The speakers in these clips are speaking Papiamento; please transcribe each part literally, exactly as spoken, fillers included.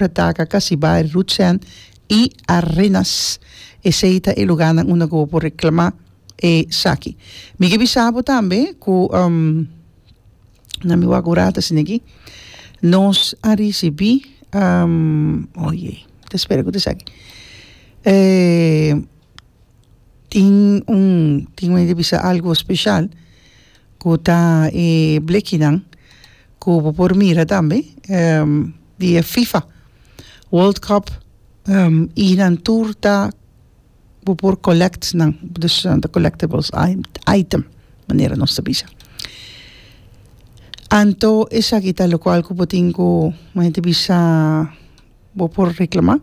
Retaca, Casibari, Rutsen y Arenas. Esey ta e lugarnan unda cu bo por reclama esaki. Mi ke bisa bo tambe cu um, na mi wak un rato asina aki, nos a ricibi, um, oye, ta spera cu ta esaki. Eh, tin un, tin un bisa algo special cu ta e blekinan cu bo por mira tambe um, di e FIFA World Cup um, y nan tur ta bo por collect nan, dus uh, de collectibles item, manera nos ta bisa. Anto esaki ta locual cu bo tin cu manera bisa bo por reclama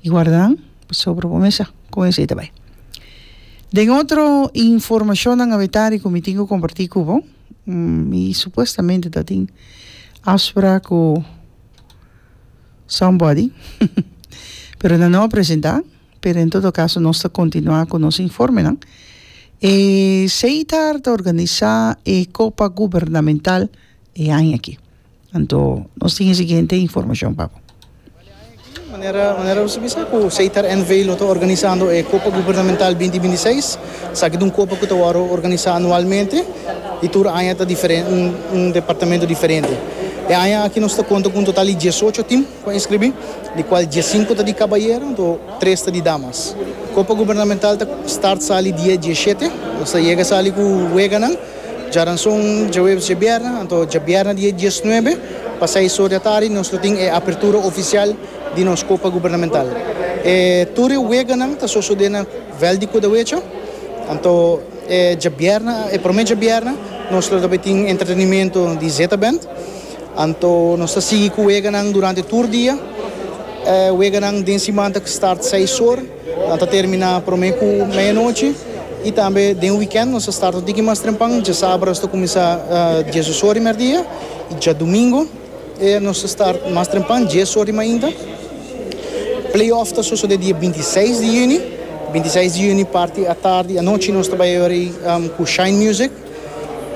y guarda sobre bo mesa con esey ta bay. Den otro informacion awetari cu mi tin cu comparti cu bo, mm, y supuestamente ta tin afspraak cu somebody, pero nan no a presenta, pero en todo caso nos ta continua cu nos informenan. E Setar ta organisa e Copa Gubernamental e aña aki. Anto, nos tin e siguiente informacion, Papo. Manera, manera bo sa, cu Setar N V lo ta organisando e Copa Gubernamental dos mil bintiseis. Esaki ta un copa cu ta organisa anualmente y tur aña ta diferente, un, un departamento diferente. E aña aki nos ta conta cu un total di diesocho team pa inscribi, di cual diescinco ta di cabayero, anto tres ta di damas. Copa Gubernamental ta start sali dia diesshete, nos ta yega sali cu weganan, diaranson, diahuebs, diabierna, anto diabierna dia diesnuebe, pa seis or di atardi, nos tin e apertura oficial di nos Copa Gubernamental. E, tur weganan ta sucede na veld di Kudawecha, anto e, diabierna, e prome diabierna, nos tambe tin entretenimento di Zeta Band. Anto nos ta sigui cu weganan durante tur dia. E, weganan den siman ta start seis or, ta termina prome cu mei anochi. Y tambe den weekend nos ta start un tiki mas trempan, diasabra nos ta cuminsa uh, diesdos or di merdia y diadomingo eh, nos ta start mas trempan, dies or di mainta. Playoff ta sucede dia bintiseis di juni. bintiseis di juni parti atardi, anochi nos tambe um, cu Shine Music.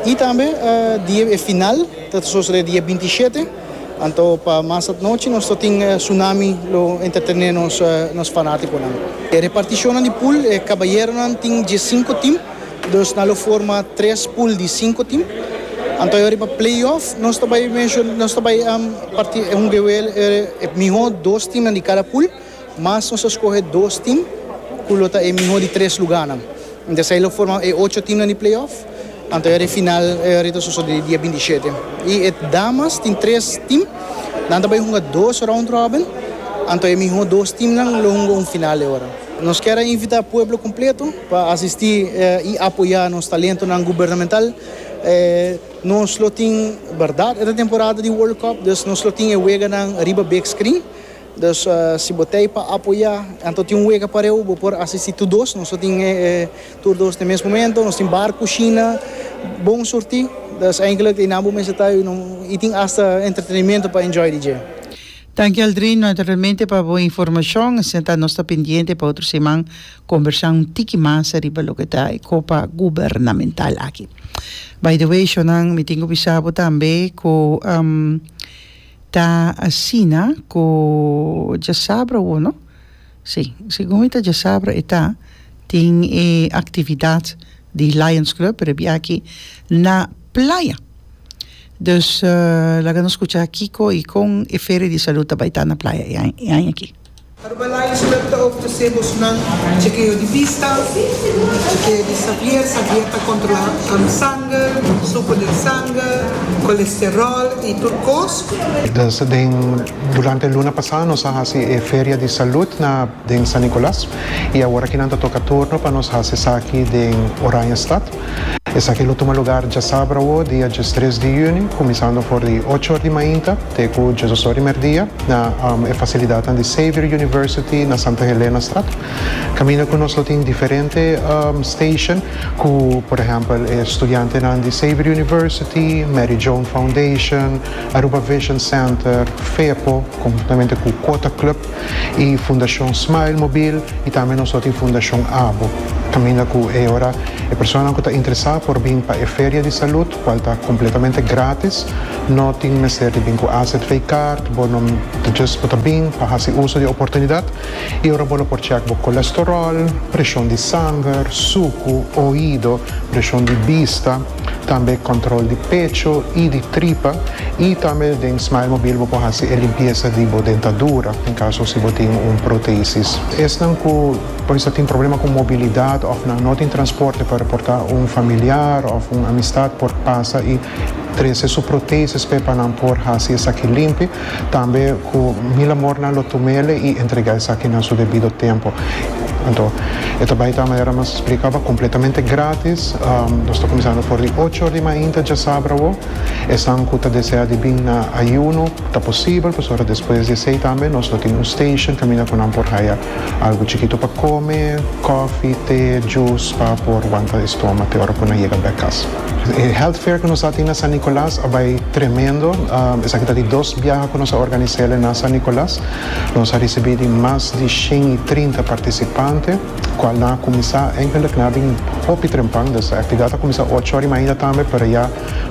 Y tambe uh, dia final, ta sucede dia bintishete. Anto pa mas anochi nos tin uh, Tsunami lo entretene nos uh, nos fanaticonan. E reparticion di pool, eh, cabayeronan tin diescinco team, dus nan lo forma tres pool di cinco team. Anto awor pa playoff, nos tambe mencion, nos tambe um, parti un gewel eh, miho dos team di cada pool, mas nos a scoge dos team cu lo ta e miho di tres lugar. Anto esey lo forma e ocho team di playoff. Anto e final e ta sucede dia bintishete. Y e damas tin tres team, nan tambe hunga dos round robin. Anto e miho dos team nan lo hunga un final awor. Nos kier invita e pueblo completo pa asisti eh, y apoya nos talentonan gubernamental. Eh, nos lo tin, berdad, e temporada di World Cup, dus nos lo tin e weganan riba big screen. Dus uh, si bo ta pa apoya, anto tin un wega pareu, bo por asisti tur dos, nos tin eh, tur dos na mes momento, nos tin bar, cushina, bon surti. Dus eigenlijk in abo mensen ta y tin hasta entretenimento pa enjoy D J. Danki, Aldrin, naturalmente pa bo informacion. Asina nos ta pendiente pa otro siman conversa un tiki mas riba loke ta e Copa Gubernamental aki. By the way, shonan, mi tin cu bisa bo tambe cu um, ta asina cu diasabra o no? Si, segun mi ta diasabra ta tin e actividad di Lions Club, pero aki na Playa. Dus uh, laga nos scucha kico y con e feria di salud bay ta na Playa e aña aki. Aruba Lions Club ta ofrece nan chekeo di vista, chekeo di Xavier, Xavier ta controla um, sanger, suco di sanger, colesterol y tur cos. Dus den, durante luna pasa nos a haci e feria di salud na den San Nicolas y awor aki nan ta toca turno pa nos haci esaki den Oranjestad. Esaki lo tuma lugar diasabra, dia diestres di juni, cuminsando for di ocho or di mainta, te cu diesdos or di merdia, na um, e facilidad di Xavier University na Santa Helena Straat. Caminda cu nos tin diferente um, station, cu, por ehempel, studiantenan di Xavier University, Mary Joan Foundation, Aruba Vision Center, FEPO, conhuntamente cu Quota Club y Fundacion Smile Mobile y tambe nos tin Fundacion ABO. Caminda cu e ora e persona cu ta interesa por bin pa e feria di salud, cual ta completamente gratis. No tin mester di bin cu A Z V card, bo no just bo ta bin pa haci uso di oportunidad. Y ora bo por check bo colesterol, presion di sanger, suco, oido, presion di bista, tambe control di pecho y di tripa y tambe den Smile Mobile bo por haci e limpieza di bo dentadura, den caso si bo tin un protesis. Esnan cu por tin problema cu mobilidad of nan no tin transporte pa porta un familiar of un amistad por pasa y trece su protesis pa nan por haci esaki limpi, tambe cu mil amor nan lo tum'e y entrega esaki na su debido tempo. Anto, e ta bay ta manera mi a splica, completamente gratis. Um, nos ta cuminsando for di ocho or di mainta diasabra. Esnan cu ta desea di bin na ayuno, ta posibel, pasobra despues di esey tambe nos tin un station caminda cu nan por haya algo chikito pa come, coffee, te, juice, pa por wanta stoma te ora cu nan yega back cas. E health fair cu nos tin na San Nicolas a bay tremendo. Um, esaki ta di dos biaha cu nos a organisa na San Nicolas. Nos a ricibi mas di shen y trinta participante, cual nan a cuminsa eigenlijk nan a bin hopi trempan, dus e actividad a cuminsa ocho or y mainta tambe, pero ya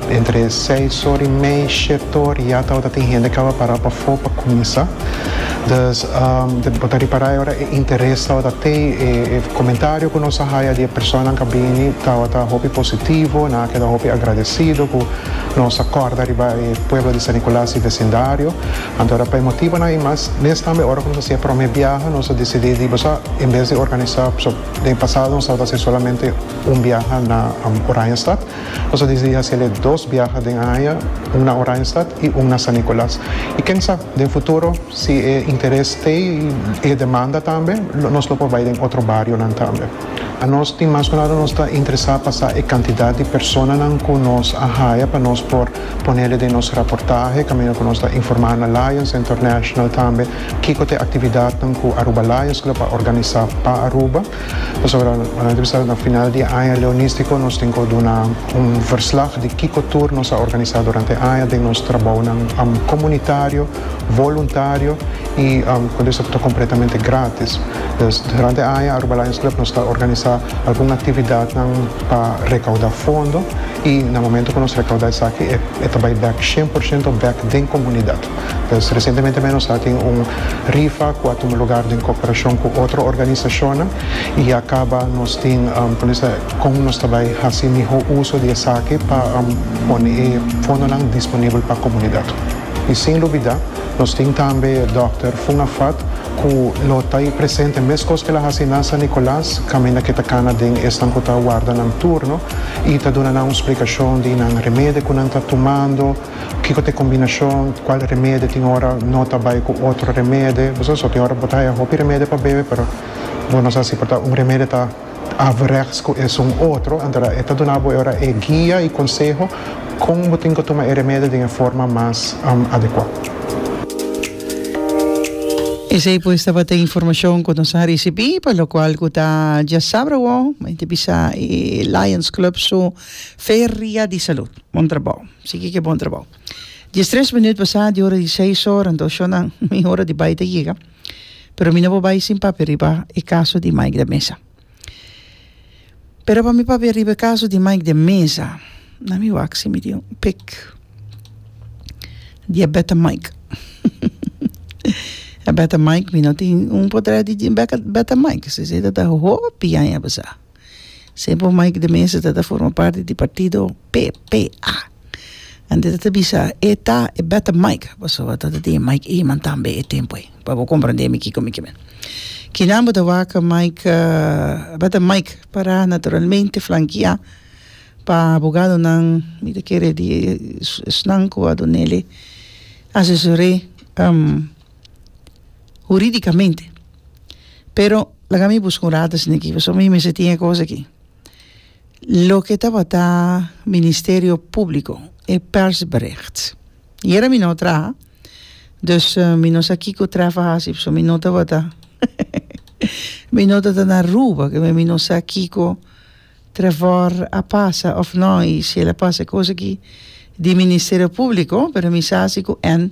entre seis or y mei, shete or, ya tabata tin hende caba para pafo pa cuminsa. Dus um, de bo ta ripara ora e interes tabata te e, e comentario cu nos a haya di persona cu a bini tabata hopi positivo, nan a keda hopi agradecido cu nos a corda riba e pueblo di San Nicolas y vecindario. Anto pa motibo nan y mas mes tambe ora cu nos a prome biaha nos a dicidi di bosa en bes di organisa, so, den pasado nos tabata haci solamente un biaha na um, Oranjestad. Nos a dicidi haci dos biaha den aña, un na Oranjestad y un na San Nicolas. Y ken sabi, den futuro, si e interes tin y demanda tambe, nos lo por bay den otro bario tambe. Anos tin mas cu nada nos ta interesa pa sa e cantidad di persona cu nos a haya pa nos por pone den nos reportahe, caminda cu nos ta informa na Lions International tambe, kico ta e actividad cu Aruba Lions Club a organisa pa Aruba. Pasobra na final di aña leonistico nos tin cu duna un verslag di kico tur nos a organisa durante aña di nos trabou um, comunitario, voluntario y um, cu esaki ta completamente gratis. Dus durante aña Aruba Lions Club nos ta organisa algun actividad pa recauda fondo y na momento cu nos recauda esaki e, e tambe back cien por ciento back den comunidad. Dus recientemente nos tin un rifa cu a tuma luga den cooperacion cu otro organisacion y a caba nos tin um, con nos tambe haci miho uso di esaki pa um, pone fondo disponibel pa e comunidad. Y sin lubida, nos tin tambe Dòkter Fungafat, cu lo ta presente mescos cu el a haci na San Nicolas, caminda cu e ta cana den esnan cu ta warda nan turno y ta duna un splicacion di nan remedi cu nan ta tumando, kico ta e combinacion, cual remedi tin ora no ta bay cu otro remedi. Bo so tin ora bo ta haya hopi remedi pa bebe, pero bo no sa si por un remedi ta averechts cu un otro, anto e ta duna ora e guia y conseho con bo tin cu tuma e remedi di forma mas um, adecua. Esey pues tabata informacion cu nos a ricibi, pa locual cu ta diasabra, bisa e Lions Club su Feria di Salud. Bon trabou. Sigui cu bon trabou. Diestres minuut pasa di ora di seis or, anto na mi ora di bay ta yega. Pero mi no bay sin papia riba e caso di Mike de Meza. Pero pa mi papia riba e caso di Mike de Meza, na mi wak si mi tin un pic di Beta Mike. A Beta Mike, mi no tin un portret di Beta Mike. Esey ta hopi aña pasa. Semper Mike de Meza ta forma parti di partido P P A. Anto ta bisa e ta e Beta Mike. Pasobra ta tin Mike Eman tambe e tempo ey. Pa bo comprende mi kico mi kiermen. Kinan bo ta wak Mike uh, Beta Mike para naturalmente flanquea pa abogado nan mi ta kere di esnan cu a dun'e asesoria um, huridicamente. Pero laga mi busca un rato aki, so mi me tin cos aki. Loke tabata Ministerio Publico e persbericht. Ayera mi no a traha. Dus uh, mi no sa kico Trevor a haci, so mi no tabata. Mi no tabata na Aruba, cu mi no sa kico Trevor a pasa of no, y si el a pasa cos aki di Ministerio Publico, pero mi sa cu nan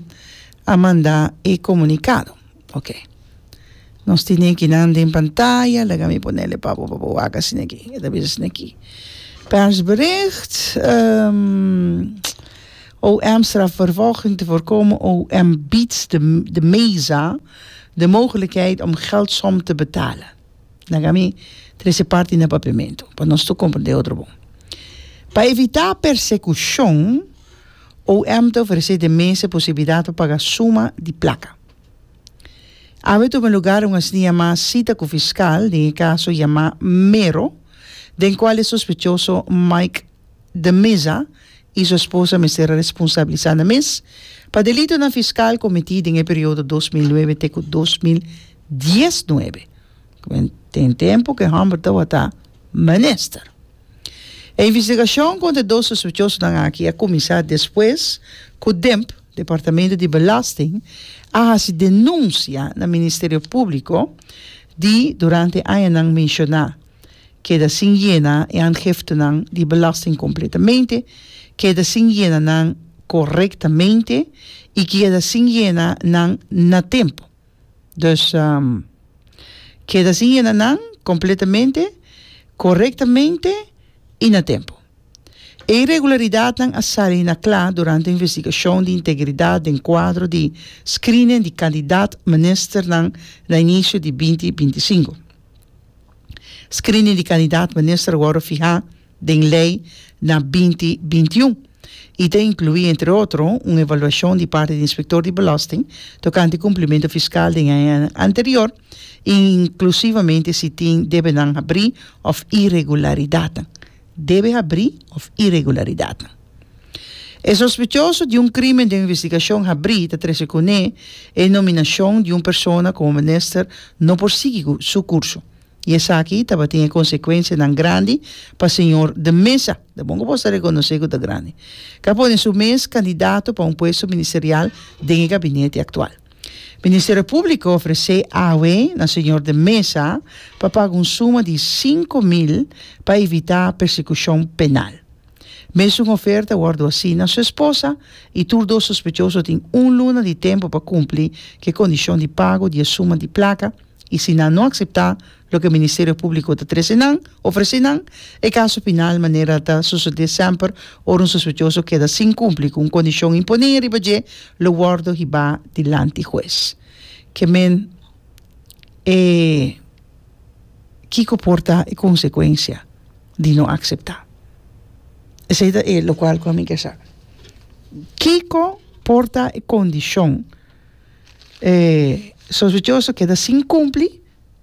a manda e comunicado. Ok. Nos tin aki nan den pantaya, laga mi pone pa pa pa wak asina aki. E ta bisa aki. Persbericht. Um, O M strafvervolging te voorkomen. O M biedt de, de Meza de mogelijkheid om geldsom te betalen. Laga mi trese parti na papiamento, pa nos tur komprondé otro bon. Pa evitá persekushon, O M ta ofresé de Meza posibilidat pa paga suma di plaka. Awe a tuma lugá un asina yamá sita ku fiskal, den e kaso yamá Mero, den kual e sospechoso Mike de Meza i su esposa mester responsabilisá nan mes pa delitonan fiskal kometí den periodo dos mil nuebe te dos mil diesnuebe. Tin tempu ku e hòmber tabata minister. E investigashon kontra dos sospechosonan aki a kuminsá despues ku D I M P, Departamento di Belasting, a hasi denunsia na Ministerio Públiko di durante añanan menshoná keda sin yena e aangiftenan di belasting kompletamente, keda sin yena nan korektamente i keda sin yena nan na tempu. Dus um, keda sin yena nan kompletamente, korektamente i na tempu. E irregularidatnan a sali na kla durante e investigashon di integridat den kuadro di screening di kandidato ministernan na inisio di dos mil bintisinku. Screening di kandidato minister a wòrdu fihá den lei na dos mil bintiun i ta inkluí, entre otro, un evaluashon di parti di inspektor di belasting tokante kumplimentu fiskal di aña anterior, inklusivamente si tin debenan habrí òf irregularidat. Debe habrí òf irregularidat. E sospechoso di un krímen di investigashon habrí ta trese kuné e nominashon di un persona komo minister no por sigui su kurso. I esaki tabatin konsekuensianan grandi pa señor de Meza. Ta bon ku bo rekonosé ku ta grandi. Ku a pone su mes kandidato pa un puesto ministerial den gabinete aktual. Ministerio Públiko a ofresé awe na señor de Meza pa paga un suma di sinku mil pa evitá persekushon penal. Mesun oferta a wòrdu hasí na su esposa i tur dos sospechoso tin un luna di tempu pa kumpli ku kondishon di pago di suma di plaka i si nan no aseptá loke Ministerio Públiko ta trese nan, ofresé nan, e kaso penal, manera ta sosodé semper ora un sospechoso keda sin kumpli ku un kondishon imponé riba dje, lo wòrdu hibá dilanti hues. Ke men e kiko por ta e konsekuensia di no aseptá. Esei ta e lokual ku ami ke sa. Kiko por ta e kondishon eh, sospechoso keda sin kumpli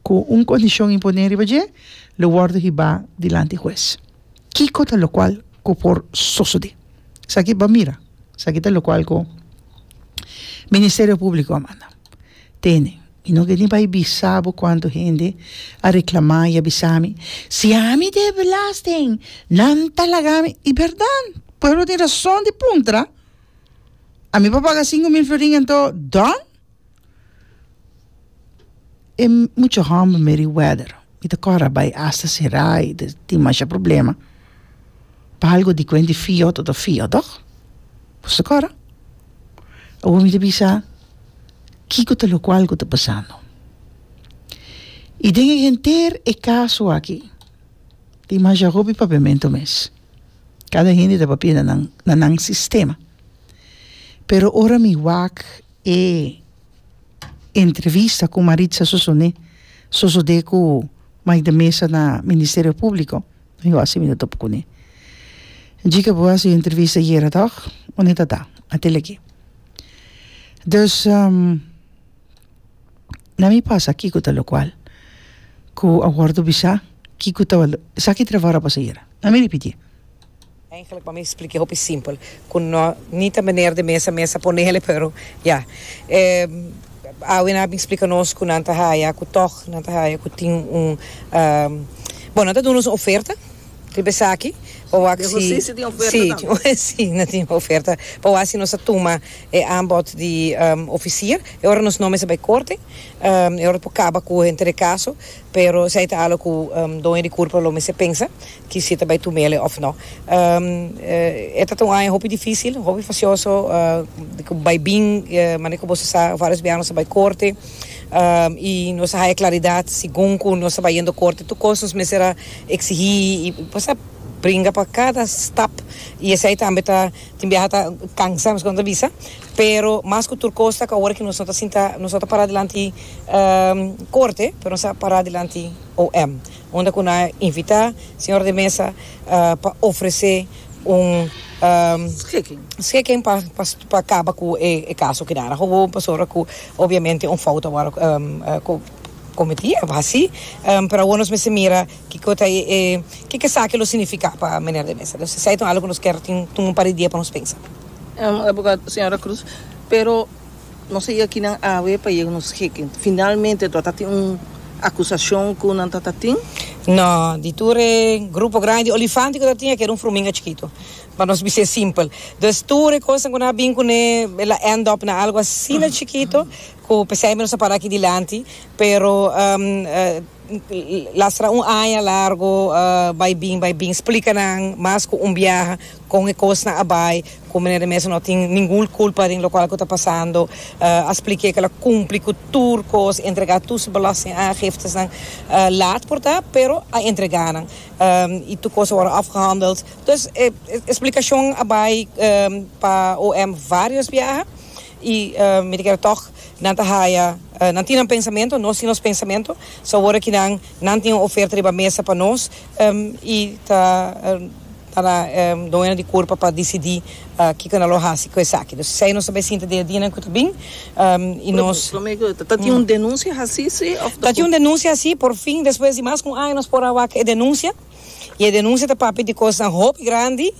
ku un kondishon imponé riba dje, lo wòrdu hibá dilanti hues. Kiko ta lokual ku por sosodé. Esaki ban mira. Esaki ta lokual ku Ministerio Públiko a manda. Tene. I no ke ni bai bisa bo kuantu hende a reklamá i a bisa mi. Si ami debe belasting, nan ta laga mi. I bèrdat, pueblo tin rason di puntra. Ami pa paga sinku mil florin anto done? E mucha hòmber Meriwether. I ta kòrda bai hasta será i tin masha problema. Pa algu di kuenta fio ta fio, toch? Bo kòrda? Awor mi ta bisa, kiko ta lokual ku ta pasando. I den henter e kaso aki, tin masha hopi papiamentu mes. Kada hende ta papia na nan, na nan sistema. Pero ora mi wak e entrevista ku Maritza Sosone, sosodé ku Mike de Meza na Ministerio Públiko. Yo asina mi topa kuné. Djika bo hasi entrevista ayera, toch? Unda ta ta? Atel aki. Dus um, na mi pasa kiko ta lokual ku a wòrdu bisa kiko ta esaki trabou pasa ayera. Na mi ripití. Eigenlijk, pa mi splika hopi simpel. Ku no, ni ta meneer de Meza mes a ponele, pero ja. Eh, awe nan a bin splika nos ku nan ta haya, ku toch nan ta haya, ku tin un um, bon, nan ta duna un oferta. Riba esaki, pa wak si Si tin oferta. Si, si, nan tin oferta. Pa wak si nos tuma e aanbod di um, officier. E ora nos no mester bai korte. Um, e ora por kaba ku henter e kaso, pero esei ta algu ku um, doño di kurpa lo mester pensa ku si ta bai tumele òf no. Um, eh, ta un aña hopi difísil, hopi fastioso, uh, bai bin, uh, manera ku bo sa, vários biaha nos a bai korte. Um, i nos a haya klaridat segun ku nos a bai korte, tur kos nos mester a eksigí i pasa. bringa pa cada stap y esey tambe ta tin biaha ta cansa, mas con bisa, pero mas cu tur cos ta cu awor cu nos ta sinta, nos ta para dilanti um, corte, pero nos ta para dilanti O M, unda cu nan a invita señor de Mesa uh, pa ofrece un um, schikking. Schikking pa pa pa caba cu e, e caso cu dara. Gewoon pasobra cu obviamente un fout a um, uh, cometi, asina, um, pero awor nos mester mira kico ta e kico esaki lo significa pa meneer de Mesa. Anto, esey ta algo cu nos kier tin un par di dia pa nos pensa. Um, abogado, señora Cruz, pero no sé aki nan awe pa yega un schikking. Finalmente, tin un acusacion cu nan tin? No, di tur grupo grandi, olifante cu tin cu era un fruminga chikito. Pa nos ser simpel. Dus tur cos cu nan a bin cune, el a end up na algo asina chikito, cu pesey nos a para aki dilanti, pero um, uh, lastra un aña largo, uh, bay bin, bay bin, splica nan mas cu un biaha, con e cosnan a bay, cu meneer de Mesa no tin ningun culpa den loke ta pasando, uh, a splica cu el a cumpli cu tur cos, entrega tur su belastingaangiftes nan uh, laat por ta, pero a entrega nan. Um, y tur cos a worden afgehandeld. Dus eh, explicacion a bay um, pa O M varios biaha y uh, mi kier toch nan ta haya uh, nan tin un pensamento, nos tin nos pensamento, so awor cu nan nan tin un oferta riba mesa pa nos um, y ta uh, ta na um, doño di curpa pa dicidi uh, kico nan lo haci cu esaki. Dus esey nos tambe sinta dia dia cu bin um, y nos Ta tin un denuncia asina, si? Of Ta tin un denuncia asina, por fin, despues di mas cu un aña, nos por a wak e denuncia. Y e denuncia ta papia di cos hopi grandi,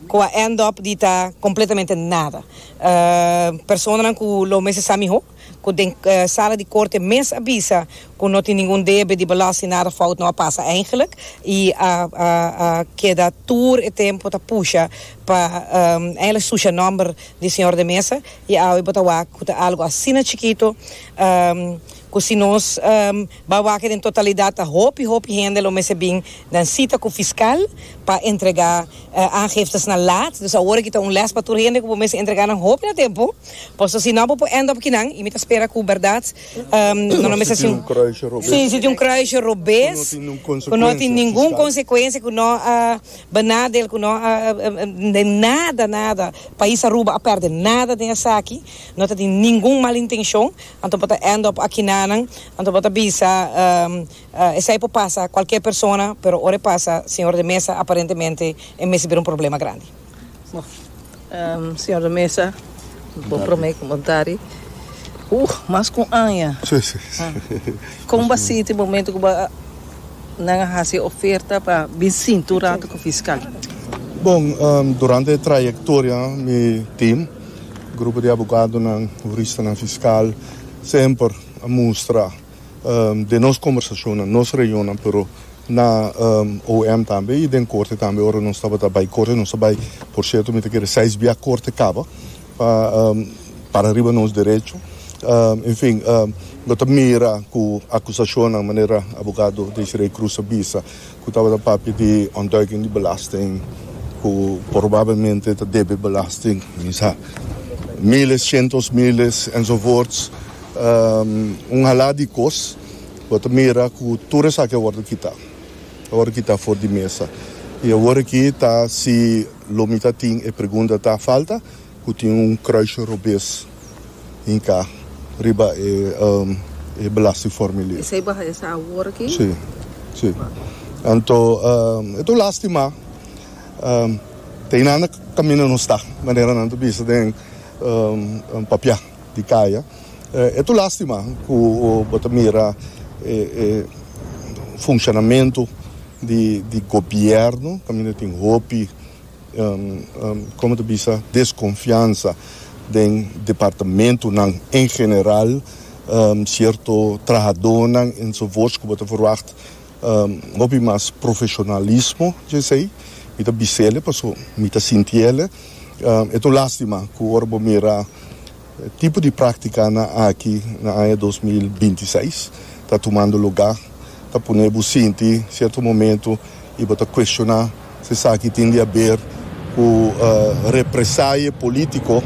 cu a end up di ta completamente nada. Uh, persona cu lo mes sa miho, cu den uh, sala di corte mes a bisa, cu no tin ningun debe di belasting, nada fout no a pasa eigenlijk. Y a, a, a keda tur e tempo ta pusha pa um, eigenlijk susha nomber di señor de Mesa y awe bo ta wak algo asina chikito um, cu si nos um, bay wak den totalidad ta hopi hopi hende lo mester bin den cita cu fiscal pa entrega uh, aangiftes na laat. Dus awor aki ta un les pa tur hende cu mester entrega nan hopi na tempo. Paso si no bo end up akinan y mi ta spera cu berdad um, no no mester Si tin un kruisje robes. Si, si tin un kruisje robes. Cu no tin ningun Cu no tin ningun fiscal. Consecuencia, cu no uh, benadeel, cu no uh, uh, de nada, nada. Pais Aruba a perde nada den esaki. No tin ningun mal intencion. Anto pa end up akinan, anto pa bisa um, uh, esey por pasa cualkier persona, pero ora pasa señor de Mesa, aparentemente e mester bira un problema grandi. Um, señor de Mesa, bo prome comentario. Uh, mas cu aña. Si, si. Con bo a sinti e momento cu nan a haci oferta pa bin sinta rato cu fiscal? Bon, um, durante e trayectoria, mi team, grupo di abogado, nan, hurista, nan, fiscal, semper a mustra um, den nos conversacion, na nos reunion, pero na um, O M tambe y den corte tambe, ora nos tabata bay corte, nos bay, por cierto, mi ta kere seis biaha corte caba, pa um, para riba nos derecho. Um, en fin, um, no ta mira cu acusacion na manera abogado Desiree Cruz a bisa, cu tabata papia di ontduiking di belasting, cu probablemente ta debe belasting, sa, miles, cientos, miles, enzovoorts. Um, un hala di cos, bo ta mira cu tur esaki a wordo kita. A wordo kita for di mesa. Y awor aki ta si lo mi ta tin e pregunta ta falta, cu tin un kruisje robes hinca riba e um, e belastingformulier. Esey bo a haya sa awor aki? Si, si. Anto, um, e ta lastima. Um, tin nada caminda no ta, manera nan ta bisa den um, un papia di caya. E ta lastima cu bo ta mira e, e, funcionamento di, di gobierno, caminda tin hopi, um, um, con ta bisa, desconfiansa den departamentonan en general, um, cierto trahadornan enzovoorts, cu bo ta verwacht um, hopi mas profesionalismo, je sei, mi ta bisele, paso mi ta sintiele, um, e ta lastima cu ora bo mira tipo di practica nan aki na aña dos mil bintiseis ta tumando lugar, ta pone bo sinti cierto momento y bo ta cuestiona si esaki tin di haber cu uh, represaille politico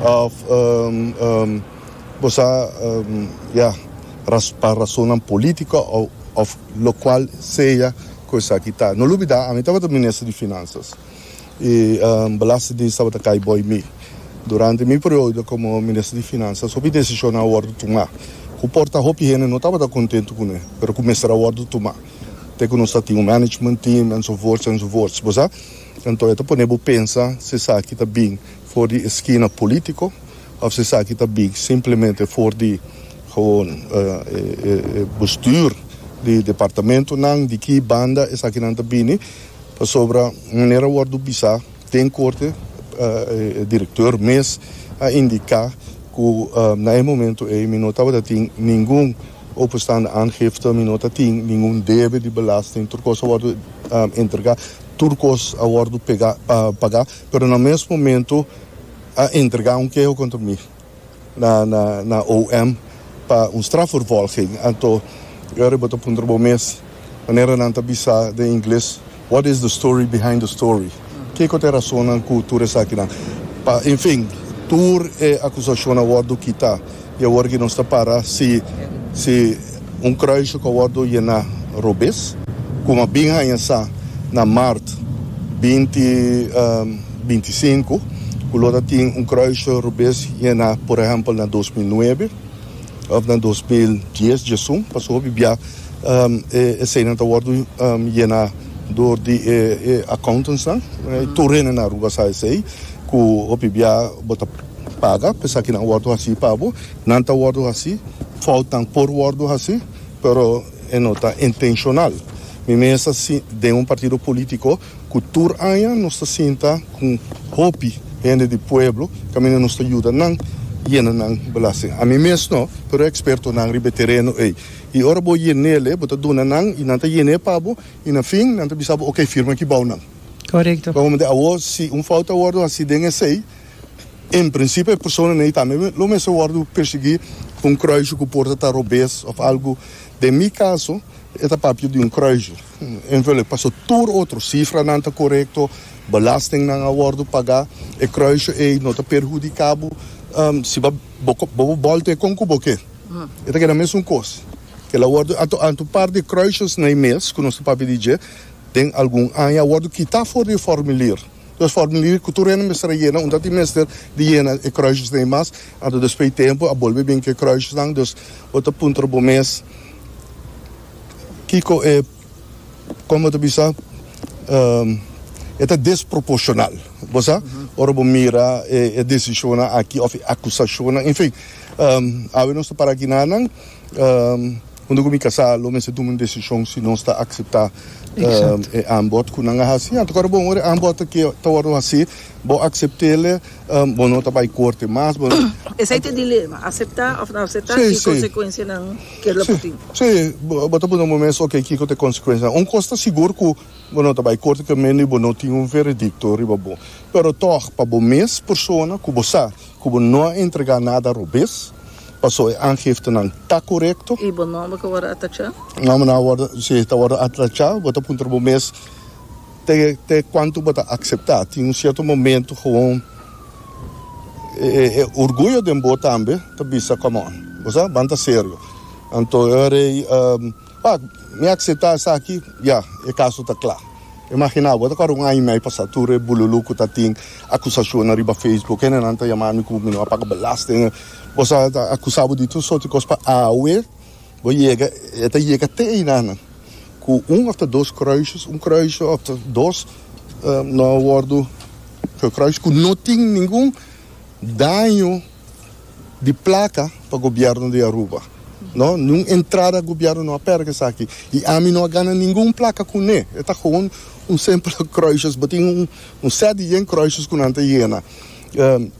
of um, um, bo um, ja, ras, pa razon politico of, of locual sea. Ku esaki ta. No lubidá, ami tabata minister di Finansas i Belastingdienst tabata kai bou mi. Durante mi periodo komo minister di Finansas hopi desishonnan a wòrdu tumá ku por ta hopi hende no tabata kontentu kuné, pero ku mester a wòrdu tumá te ku nos ta tin un management team enzovoorts enzovoorts. Bo sa? Anto e ta pone bo pensa si esaki ta bin for di eskina polítiko òf si esaki ta bin simplemente for di gewoon e bestuur di departamentonan, di ki banda esakinan ta bini, pasobra manera wordo bisa den corte e directeur mes a indica cu na e momento ey mi no tabata tin ningun openstaande aangifte, mi no ta tin ningun debe di belasting, tur cos a wordo entrega, tur cos a wordo pega paga, pero na mes momento a entrega un keho contra mi. na na na O M pa un strafvervolging. Anto e ora bo ta puntra bo mes, manera nan ta bisa den ingles, "What is the story behind the story?" Kiko ta e rasonnan ku tur esakinan? Pa en fin, tur e akusashon a wòrdu kitá i awor ki nos ta para si si un kruisje ku a wòrdu yená robes, ku a bin haña sa na mart binti binti sinku ku lo ta tin un kruisje robes yena, por ehèmpel, na dos mil nuebe òf na dos mil dies, diesun, pasobra hopi bia e eseinan ta wòrdu yena dor di e accountantsnan. Tur hende na Aruba sa esei, ku hopi bia bo ta paga pa esakinan wòrdu hasi pa bo. Nan ta wòrdu hasi, foutnan por wòrdu hasi, pero e no ta intenshonal. Mi mes ta den un partido politico cu tur aña nos ta sinta cu hopi hende di pueblo caminda nos ta yuda nan yena nan belasting. Ami mes no, pero e expertonan riba e tereno ey. Y ora bo yenele, bo ta duna nan y nan ta yene pa bo y na fin nan ta bisa bo, ok, firma aki bou nan. Correcto. Pasobra awor si un fout a wordo haci den esey, en principio e personanan ey tambe lo mester wordo persegui cu un kruisje cu por ta ta robes of algo. Den mi caso e ta papia di un kruisje invullen paso tur otro cifranan ta corecto, belastingnan a wordo paga, e kruisje ey no ta perhudica bo, si bo bo bolta e con cu bo ke e ta keda mesun cos. Kel a wordo anto anto un par di kruisjes na e mes cu nos ta papia di dje den algun aña a wordo kita for di e formulier. Dus formulier cu tur hende mester a yena, unda tin mester di yena e kruisjesnan ei mas, anto despues di tempo a bolbe bin cu e kruisjesnan. Dus bo ta puntra bo mes kico e, con bo ta bisa, e ta desproporcional, bo sa, ora bo mira e decisionnan aki of e acusacionnan, en fin. Awe nos ta para aki nanan. Huntu ku mi kasá lo mester tuma un desishon si nos ta akseptá e aanbod ku nan a hasi. Anto kòrda bon, ora e aanbod aki ta wòrdu hasí, bo aksept'é, bo no ta bai korte mas, bo no. Esei ta e dilema, aseptá òf no aseptá i konsekuensianan ke lo por tin. Sí, bo ta pone bo mes, oke, kiko ta e konsekuensianan? Un kos ta sigur ku bo no ta bai korte kaminda i bo no tin un veredikto riba bo. Pero tòg, pa bo mes persona ku bo sa ku bo no a entregá nada robes, Paso e aangiftenan ta korekto. I bo nomber ku wòrdu atachá? Nombernan a wòrdu, si, ta wòrdu atachá. Bo ta puntra bo mes te te kuantu bo ta akseptá. Tin un sierto momento gewoon e e orguyo den bo tambe ta bisa come on, bo sa, ban ta serio. Anto e ora ei, wak, mi akseptá esaki, ya, e kaso ta kla. Imaginá bo, ta kòrda un aña i mei pasá tur e bululu ku ta tin akusashonnan riba Facebook, hendenan ta yama mi ku mi no a paga belasting, bo sa ta akusá bo di tur sorti kos pa awe bo yega, e ta yega te einanan ku un òf ta dos kruisjes, un kruisje òf ta dos no a wòrdu gekruis ku no tin ningun daño di plaka pa gobièrnu di Aruba. No, niun entrada gobièrnu no a pèrdè esaki. I ami no a gana ningun plaka kuné. E ta gewoon un simpel kruisjes. Bo tin un sèt di yen kruisjes ku nan ta yena.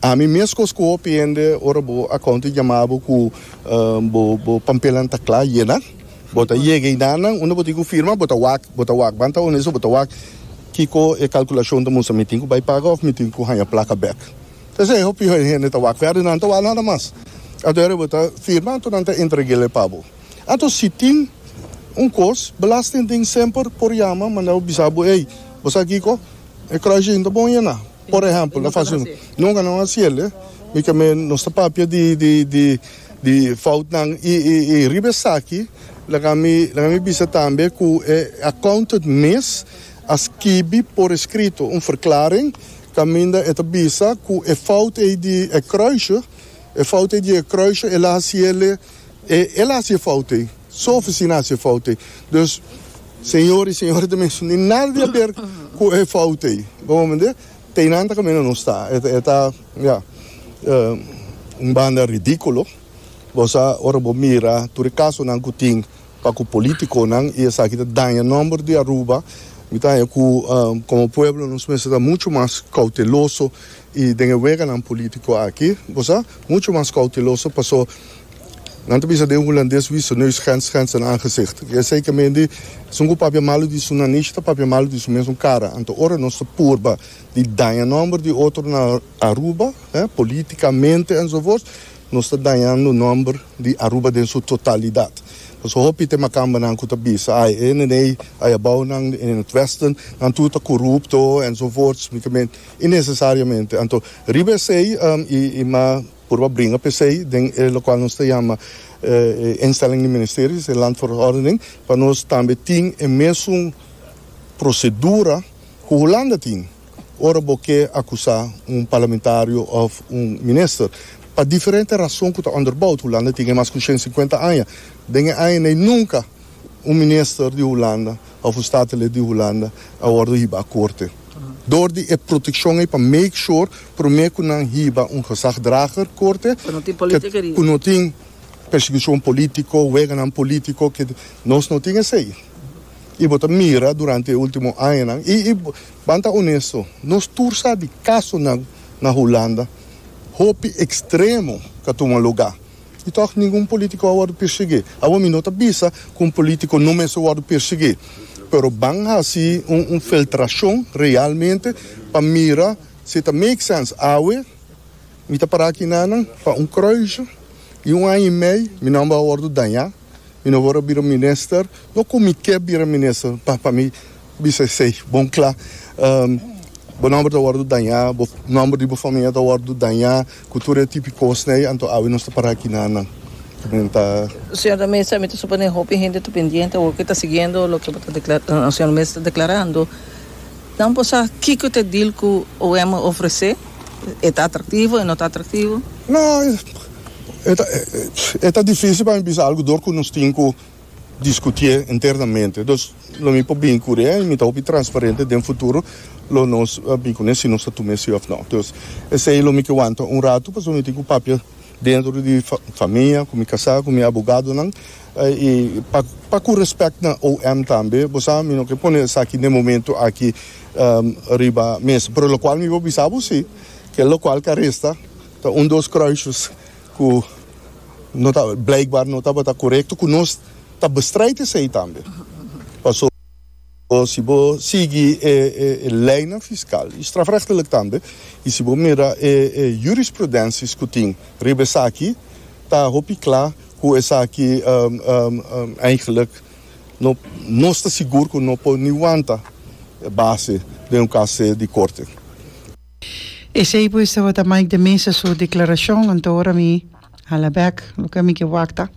Ami meskos ku hopi hende ora bo accountant yama bo ku bo bo pampelnan ta kla yena, bo ta yega einan unda bo tin ku firma, bo ta wak, bo ta wak, ban ta honesto, bo ta wak kiko e kalkulashon ta mustra, mi tin ku bai paga òf mi tin ku haña plaka bèk. Esei hopi hende ta wak verder, nan ta wak nada mas. Anto ora bo ta firma, anto nan ta entreg'el pa bo. Anto si tin un kos, belastingdienst semper por yama manda bo bisa bo, ey, bo sa kiko? E kruisje no ta bon yena. Por ehempel, na fasi un. Nunka nan a hasiel, eh. Mi ke men nos ta papia di di di Di foutnan i i i riba esaki laga mi laga mi bisa tambe ku e accountant mes a skibi por eskrito un verklaring kaminda e ta bisa ku e fout ei di e kruisje, e fout ei di e kruisje el a hasi el e el a hasi e fout ei, su ofisina a hasi e fout ei. Dus señor i señora ta menshoná ni nada di haber ku e fout ei. Bo comprende? Te einan ta kaminda nos ta. E ta ya un banda ridíkulo. Bo sa ora bo mira tur e kasonan ku tin pa ku politikonan i esaki ta daña nòmber di Aruba. Mi ta haña ku komo pueblo nos mester ta muchu mas kouteloso i den e weganan politiko aki, bo sa, muchu mas kouteloso paso nan ta bisa den hulandes wie zijn neus schendt, schendt zijn aangezicht. Esei ke men di esun ku papia malu di su nanishi ta papia malu di su mesun kara. Anto ora nos ta purba di daña nòmber di otro na Aruba, politikamente enzovoorts, nos ta dañando nòmber di Aruba den su totalidat. Pasobra hopi ta e makambanan ku ta bisa, ai e nenei ai abounan in het westen, nan tur ta korupto enzovoorts, innesesariamente. Anto riba esei i m'a purba bringa p'esei den e lokual nos ta yama e instelling di ministeries, e landverordening, pa nos tambe tin e mesun prosedura ku Hulanda tin ora bo ke akusá un parlamentario òf un minister. Pa diferente rason ku ta onderbouwd. Hulanda tin e mas ku shen sinkuenta aña. Den e añanan ei nunka un minister di Hulanda òf un statenlid di Hulanda a wòrdu hiba a korte. Dor di e protekshon ei pa make sure promé ku nan hiba un gezagdrager korte ku no tin persekushon polítiko, weganan polítiko, ke nos no tin esei. I bo ta mira durante e ultimo añanan i i ban ta honesto, nos tur sa di kasonan na Hulanda hopi ekstremo ka tuma lugá i tòg ningun polítiko a wòrdu persiguí. Awor mi no ta bisa ku un polítiko no mester wòrdu persiguí, pero ban hasi un un filtrashon realmente pa mira si ta make sense. Awe mi ta pará aki nanan pa un kruisje i un aña i mei mi nòmber a wòrdu dañá. Mi no por a bira minister, no ku mi ke bira minister, pa pa mi bisa esei bon kla. Bo nòmber ta wòrdu dañá, bo nòmber di bo famia ta wòrdu dañá ku tur e tipo kosnan ei, anto awe nos ta pará aki na nan. Ta. Señor de Meza, mi ta suponé hopi hende ta pendiente awor ku ta siguiendo loke bo ta dekla, señor Meza ta deklarando. Nan por sa kiko ta e deal ku O M a ofresé? E ta atraktivo, e no ta atraktivo? No, e ta, e ta difícil pa mi bisa algu dor ku nos tin ku diskutié internamente. Dus lo mi por bin kuné i mi ta hopi transparente den futuro lo nos bin kuné si nos ta tuma esei òf no. Dus esei lo mi ke wanta un ratu pasobra mi tin ku papia dentro di famia, ku mi kasá, ku mi abogadonan i pa pa ku respèkt na O M tambe. Bo sa mi no ke pone esaki den momento aki riba mesa. Pero lokual mi por bisa bo si ke lokual ke a resta ta un dos kruisjes ku no ta blijkbaar no tabata korekto ku nos ta bestrijd esei tambe. Paso si bo sigui e e leinan fiskal i strafrechtelijk tambe i si bo mira e e jurisprudenties ku tin riba esaki ta hopi kla ku esaki eigenlijk no nos ta sigur ku no por ni wanta base den un kase di korte. Esei pues tabata Mike de Meza su declaracion, anto ora mi hala bek loke mi ke wak ta.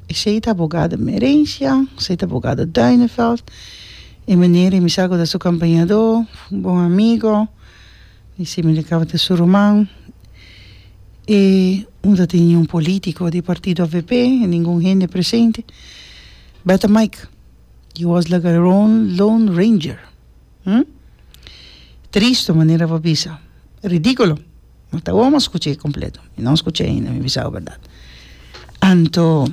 Esei ta abogado Merencia, esei ta abogado Duineveld, e meneer mi sa ku ta su kampañadó, un bon amigo, mi si mi tabata su ruman. E un ta tin un politico di partido A V P, ningun hende presente. Beta Mike, you was like a lone ranger. Hm? Tristo manera bo bisa. Ridículo. No ta awor mi a scuché completo. Mi no a scuché ainda, mi bisa bo berdad. Anto,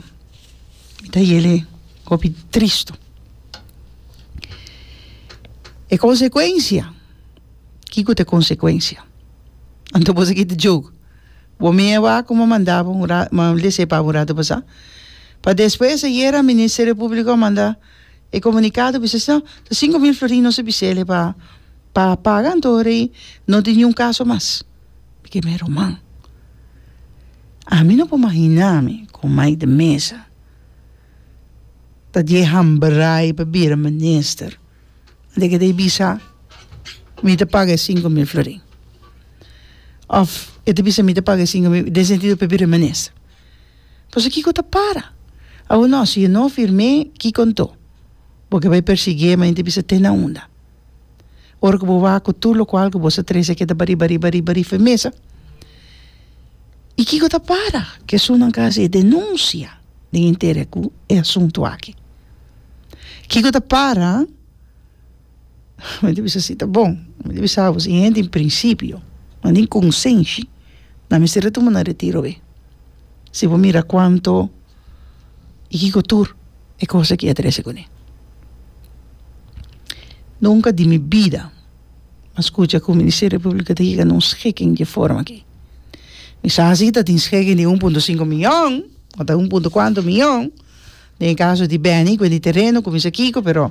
mi ta yele hopi tristo. E consecuencia, kico ta e consecuencia? Anto bo sa kita joke. Bo mi e wak ku mi a manda bo un ra, mi a lese pa bo un rato pasá. Pa despues ayera Ministerio Público a manda e komunikado bisa si no, ta sinku mil florin nos a bis'el pa pa paga anto ora ei no tin niun kaso mas. Mi ke mi ruman, ami no por mahina mi ku Mike de Meza ta di e hambrai pa bira minister. Ante ke ta e bisa mi ta paga e sinku mil florin. Òf e E ta bisa mi ta paga e sinku mil den sentido pa e bira minister. Pasobra kiko ta para? Awor no, si e no firm'é, kiko anto? Bo ke bai persiguié, ma hende bisa te na unda? Ora ku bo wak ku tur lokual ku bo sa trese keda bari bari bari bari fu e mesa. I kiko ta para ku esunnan ka hasi e denunsia den intere ku e asuntu aki? Kiko ta para? Mi ta bisa si ta bon. Mi ta bisa bo si hende tin prinsipio, nan tin konsenshi, nan mester a tuma nan retiro be. Si bo mira kuanto i kiko tur e kos aki a trese kuné. Nunka di mi bida m'a skucha ku Ministerio Públiko ta yega na un schikking di e forma aki. Mi sa si ta tin schikking di un punto sinku mion o ta un punto kuantu mion den e kaso di Benny ku e di tereno ku mi sa kiko pero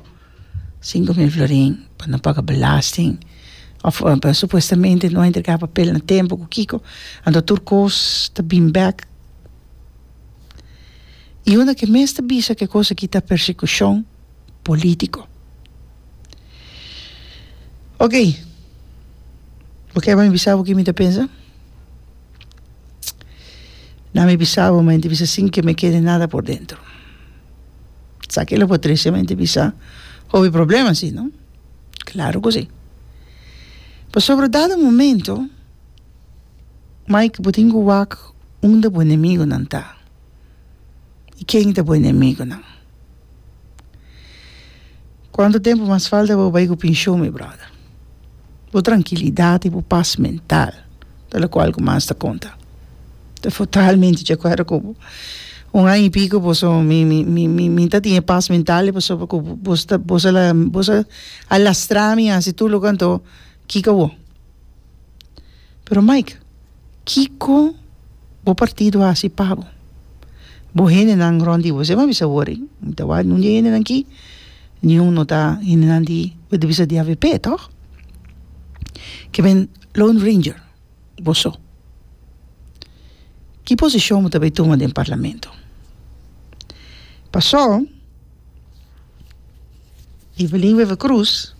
sinku mil florin pa no paga belasting of pa supuestamente no a entrega papel na tempo ku kiko anto tur kos ta bin bek. I unda ke mes ta bisa ku e kos aki ta persekushon polítiko. Ok, bo ke pa mi bisa bo ki mi ta pensa? Na mi bisa bo, ma mi ta bisa sin ke me kede nada por dentro. Sa ke lo por trese, ma mi ta bisa hopi problema si, no? Klaro ku si. Pasobra dado momento, Mike, bo tin ku wak unda bo enemigunan ta i ken ta bo enemigunan. Kuantu tempu mas falta pa bo bai ku penshon, mi bròder? Bo trankilidat i bo pas mental ta lokual ku mas ta konta. Ta totalmente di akuerdo ku bo. Un aña i piko boso mi mi mi mi mi ta tin e pas mental pasobra ku boso ta boso a boso a lastra mi hasi tur loke anto kiko awor. Pero Mike, kiko bo partido a hasi pa bo? Bo hendenan rond di bo, esei mi a bisa awor, mi ta wak nun di e hendenan aki, niun no ta hendenan di, bo ta bisa di avp tòg? Ke men Lone Ranger, bo so. Ki posishon bo ta bai tuma den parlamento? Pasó Evelyn Wever Croes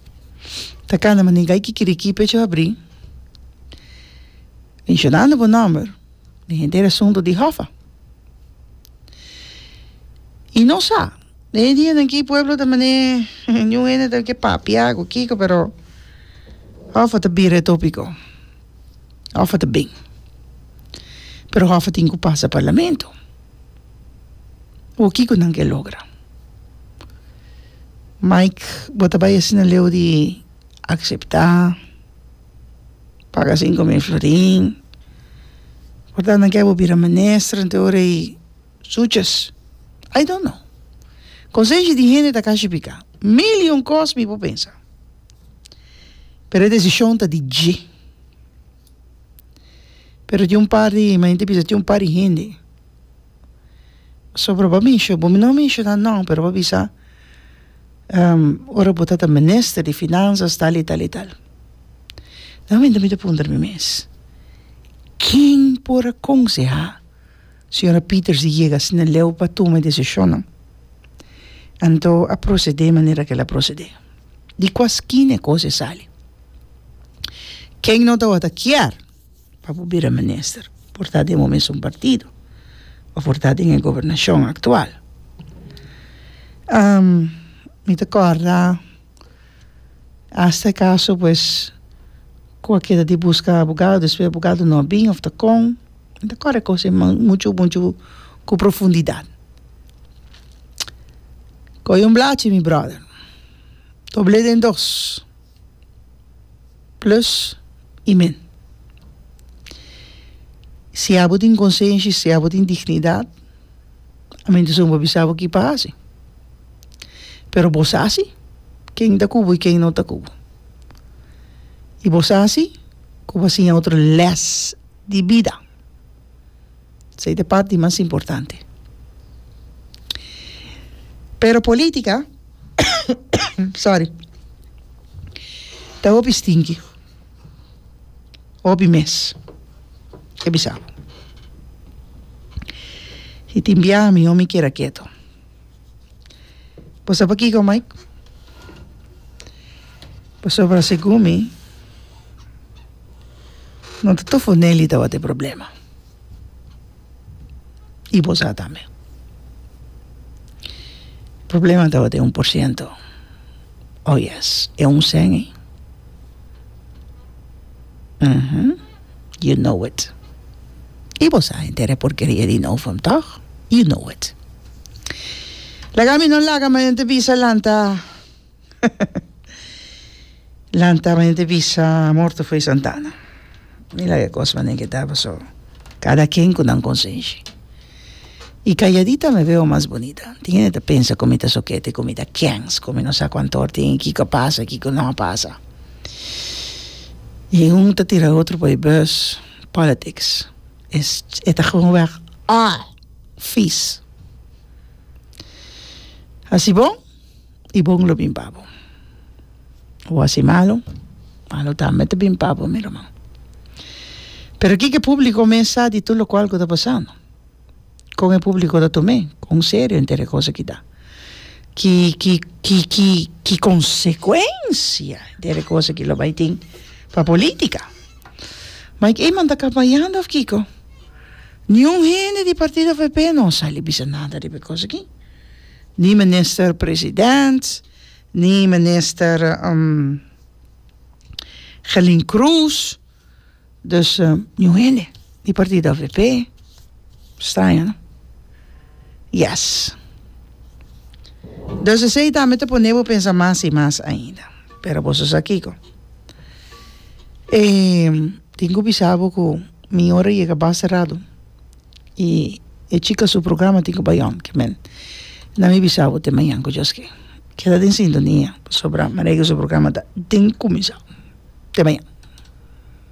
ta kanda manera gai kikiriki pecho habrí menshonando bo nòmber den henter asuntu di Hoffa. I no sa, den e dianan aki pueblo ta manera niun hende ta ke papia ku kiko pero Hoffa ta bira e topiko. Hoffa ta bin. Pero Hoffa tin ku pasa parlamento. Awor kiko nan ke logra? Mike, bo ta bai asina leu di akseptá paga sinku mil florin? Por ta nan ke bo bira minister anto ora ei suches? I don't know. Konsenshi di hende ta kashi piká. Mil i un kos mi por pensa. Pero e desishon ta di dje. Pero tin un par di, mi ta bisa tin un par di hende. Pasobra bo a mensho, bo no a menshoná nò, pero bo a bisa ora bo ta ta minister di finansas tal i tal i tal. Na momento mi ta puntra mi mes, ken por a konsehá señora Pieters di yega asina leu pa tuma e desishonnan? Anto a prosedé manera ku el a prosedé. Di kua skina e kos e sali? Ken no tabata kier pa bo bira minister? Por ta den bo mesun partido of por ta den e gobernashon aktual. Mi ta kòrda hasta e kaso pues ku a keda di buska abogado, despues abogado no a bin of ta kon. Mi ta kòrda e kos ei muchu muchu ku profundidat. Kohe un blachi mi bròder. Dobl'é den dos, plus i min. Si abo tin konsenshi, si abo tin dignidat, ami ta esun pa bisa bo ki pa hasi. Pero bo sa si ken ta ku bo i ken no ta ku bo. I bo sa si ku bo a siña otro lès di bida. Esei ta e parti mas importante. Pero politica, sorry, ta hopi stinky, hopi mes, e bisa bo. Si tin biaha mihó mi keda keto. Bo sa pakiko, Mike? Pasobra segun mi, No ta Tofonelli tabata e problema. I bo sa tambe. Problema tabata e un por ciento. Oh yes, e un cen ei. Mhm. You know it. I bo sa henter e porkeria di Novum, toch? You know it. Laga mi no laga ma henter bisa lanta. Lanta ma henter bisa morto fo'i Santana. Mi laga e kos manera ke ta paso kada ken ku nan konsenshi. I kalladita me veo mas bonita. Tin hende ta pensa ku mi ta sokete, ku mi ta kens, ku mi no sa kuantor tin, kiko a pasa, kiko no a pasa. I un ta tira otro pa e bus. Politics es e ta gewoonweg ah vies. Hasi bon i bon lo bin pa bo. O hasi malo, malo tambe ta bin pa bo, mi ruman. Pero kiko e publico mes sa di tur locual cu ta pasando? Con e publico ta tum'é? Con serio henter e cos aki ta? Ki ki ki ki ki consecuencia henter e cos aki lo bay tin pa politica? Mike Eman ta campañando of kico? Niun hende di partido avp no a sali bisa nada riba e cos aki. Ni minister president, ni minister um, Gelin Cruz. Dus uh, niun hende di partido avp. Straño, no? Yes. Dus esey tambe ta pone bo pensa mas y mas ainda. Pero boso sa kico. E tin cu bisa bo cu mi ora yega basta rato y e chica su programa tin cu bay on ke men na mi bisa bo te mañan cu Dios ke. Keda den sintonia pasobra Marijke su programa ta den cuminsa. Te mañan.